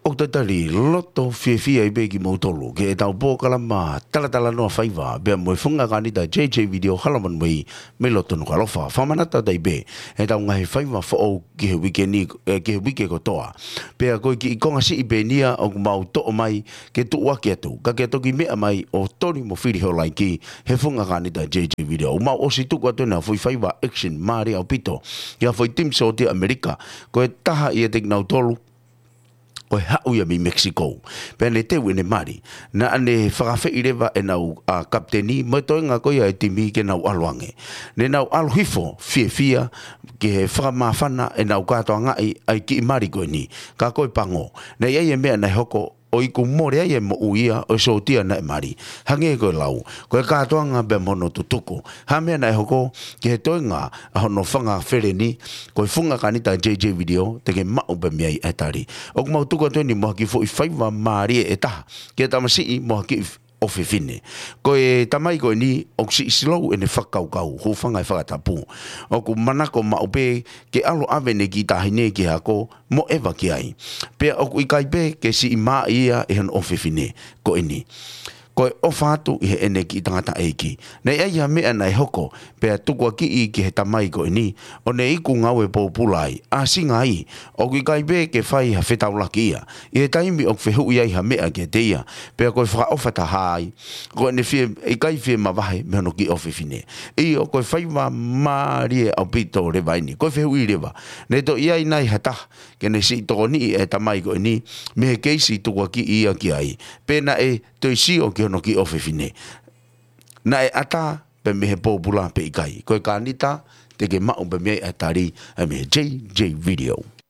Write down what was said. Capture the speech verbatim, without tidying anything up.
ʻOku tatali loto fiefia ai pē kimoutolu ki heʻetau polokalama talatalanoa faiva pea mo e funga kānita J J Video Hala Manuei mei loto Nukuʻalofa. Fakamanatu atu ai pē ʻetau ngaahi faiva foʻou ki he uike ni, eh, ki he uike kotoa. Pea ko e kiʻi konga siʻi pē eni ia ʻoku mau toʻo mai ke tuʻuaki atu, ka ke toki meʻa mai ʻo toli mo fili ho laiki he funga kānita J J Video. ʻOku mau ʻosi tuku atu ʻena foʻi faiva action mālie ʻaupito ki ha foʻi timi sōtia ʻAmelika, ko e taha ʻiate kinautolu ko e haʻu ia mei Mexico. Pea ne teu ʻene mali. Naʻa ne fakaafeʻi leva ʻenau, a, kapiteni mo e toenga ko ia e timi ke nau ʻalu ange. Ne nau ʻalu hifo fiefia ki he fakamāfana ʻenau kātoangaʻi ʻa e kiʻi mali ko eni. Ka ko e pango, naʻe ʻi ai e meʻa naʻe hoko ʻo iku mole ai e moʻui ia ʻo e sōtia naʻe mali. Hangē ko e lau, ko e kātoanga pea mo hono tutuku. Ha meʻa naʻe hoko ki he toenga ʻa hono fanga feleni, ko e funga kānita J J Video, te ke maʻu pē mei ai e tali. ʻOku mau tuku atu ʻeni mo ha kiʻi foʻi faiva mālie ʻe taha ki he tamasiʻi mo ha kiʻi f-, ʻofefine. Ko e tamai ko eni ʻoku siʻi slow ʻene fakakaukau, hūfanga he fakatapu. ʻOku manako maʻu pē ke ʻalu ʻave ʻene kiʻi taʻahine ki he ako mo ʻeva ki ai. Pea ʻoku ʻikai pē ke siʻi māʻi ia ʻe hono ʻofefine ko eni. Ko e ʻofa atu ʻi heʻene kiʻi tangataʻeiki. Naʻe ʻi ai ha meʻa naʻe hoko, pea tukuakiʻi ki he tamai ko eni, ʻo ne iku ngāue pōpula ai. ʻAsinga ai, ʻoku ʻikai pē ke fai ha fetaulaki ia ʻi he taimi ʻoku fehuʻi ai ha meʻa kiate ia, pea ko e fakaʻofa taha ai, ko ʻene fie, ʻikai fie mavahe mei hono kiʻi ʻofefine. ʻIo, ko e faiva mālie ʻaupito leva ʻeni. Ko e fehuʻi leva, ne toe ʻi ai nai ha taha ke ne siʻi tokoniʻi e tamai ko eni mei he keisi tukuakiʻi ia ki ai, pe naʻe toe sio ki hono kiʻi ʻofefine? Naʻe ʻatā pē mei he pōpula pe ʻikai? Ko e kānita, te ke maʻu pē mei ai e tali, ʻa e mei he J J Video.